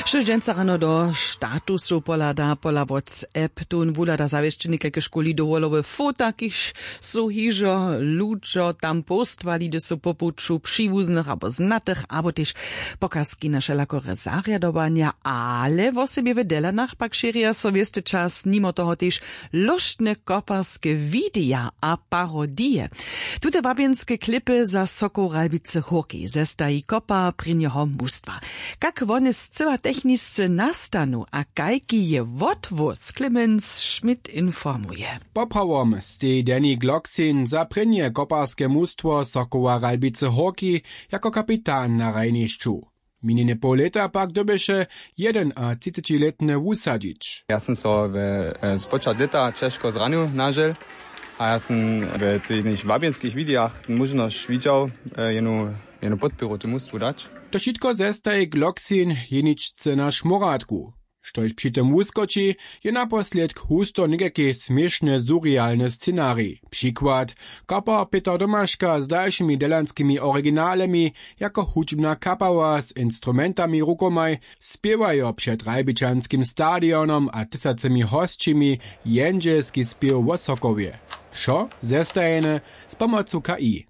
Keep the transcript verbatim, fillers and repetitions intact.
Štož dźensa rano do statusow pohlada pola whatsapp, tón wuhlada zawěsćenje kajke škóli dowolowe fota, kiž su hižo ludźo tam postwali, hdyž su po puću přiwuznych abo znatych abo tež pokazki na wšelakore zarjadowanja. Ale wosebje w delanach pak šěrja so wěsty čas nimo toho tež lóštne koparske wideja a parodije. Tute wabjenske klipy za sokoł ralbicy hórki zestaji kopar prěnjeho mustwa. Kak wone scyła technisce nastanu a kajki je wotwóz, clemens schmidt informuje. Poprawom steji danny gloksin za prěnje koparske mustwo sokoła ralbicy hórki jako kapitan na hrajnišću. Minjene poł lěta pak dyrbješe jedenatřicećilětne wusadźić. Ja sym so we e, spočat lěta ćežko zranił nažel, a ja sym we tych wabjenskich widejach móžnosć widźał e, jenu, jenu podpěru tu mustwu dać. To wšitko zestaji gloksin jeničce na šmoratku. Štož při tym wuskoči, je naposledk husto někajki směšny surrealny scenarij. Přikład: kapar pětr domaška z dalšimi delanskimi originalemi jako hudźbna kapała z instrumentami rukomaj spěwajo před ralbičanskim stadionom a tysacymi hosćimi jendźelski spěw wo sokowje. Wšo zestajene z pomocu k i.